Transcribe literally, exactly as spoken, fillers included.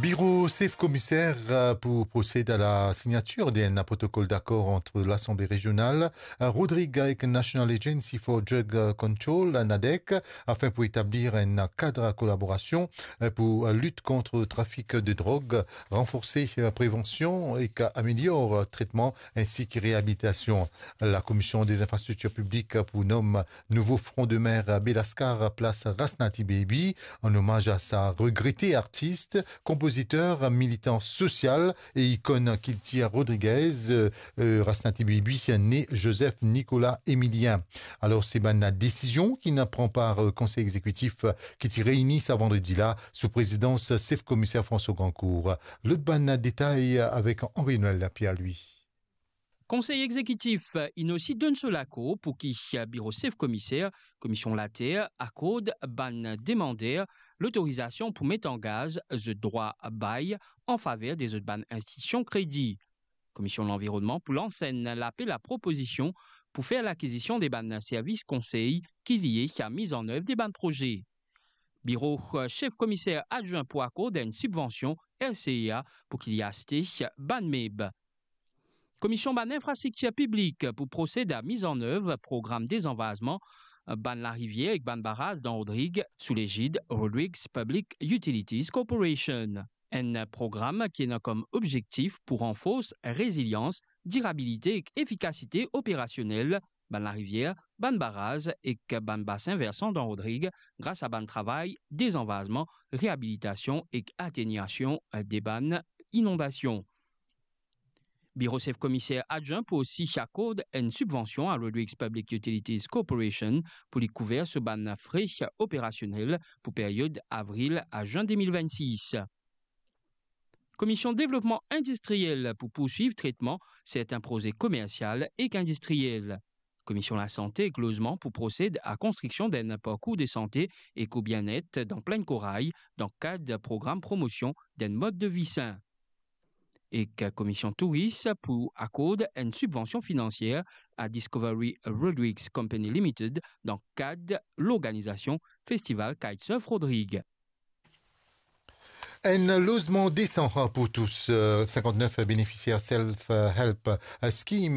Biro Sef Komiser, euh, pou prosed a la signatir d'enn protokol dakor ant Lasanble Rezional, euh, Rodrig ek National Agency for Drug Control, NADEC, afin pou etablir enn kad kolaborasion, euh, pou, euh, lit kont trafik de drog, ranforse, euh, prevansion ek amelior tretman ensi ki reabilitasion. La Komision de Zinfrastriktir Piblik pou nom nouvo fron de mer Belascar, plas Rasnaty Baby, an omaz a sa regrete artis, konpoziter, militan sosial e ikonn kiltir Rodriguez, euh, euh, Rasnaty Baby, ne Joseph Nicolas Emilien. Alor, se bann desizion ki'nn pran par, euh, Konsey Egzekitif, euh, ki ti reini sa vandredi la, sou prezidans Sef Komiser François Grandcourt. Lot bann detay avek Henri-Noël Pierre-Louis. Konsey Egzekitif inn osi donn so lakor pou ki Biro Sef Komiser, Komision Later, akord bann demander lotorizasion pou met an gaz zot drwa bay an faver de zot bann institision kredi. Komision Lanvironnman pou lans enn lapel a propozision pou fer lakizision de bann servis konsey ki lie a miz an ev de bann proze. Biro, eh, Sef Komiser Adwin pou akord enn sibvansion R C E A pou ki li aste bann meb. Komision bann Infrastriktir Piblik pou prosed a miz an ev program dezanvazman bann larivier ek bann baraz dan Rodrig sou legid Rodrigues Public Utilities Corporation. Enn program ki ena kom obzektif pou ranfors rezilians, dirabilite ek efikasite operasionel bann larivier, bann baraz ek bann basin versan dan Rodrig gras a bann travay dezanvazman, reabilitasion ek ateniasion de bann inondasion. Biro Sef Komiser Adwin pou osi akord enn sibvansion a Rodrigues Public Utilities Corporation pou li kouver so bann fre operasionel pou period avril a zin de mil vennsis. Komision Devlopman Indistriyel pou pourswiv tretman sertin proze komersial ek indistriyel. Komision Lasante ek Lozman pou prosed a konstriksion d'enn parkour de sante ek ou bienet dan Plinn Koray, dan kad program promosion d'enn mod de vi sin. Ek Komision Touris pou akord enn sibvansion finansier a Discovery Rodrigues Company Limited dan kad lorganizasion Festival Kitesurf Rodrig. Enn lozman desan pou tous, euh, sinkant-nef benefisier Self Help Scheme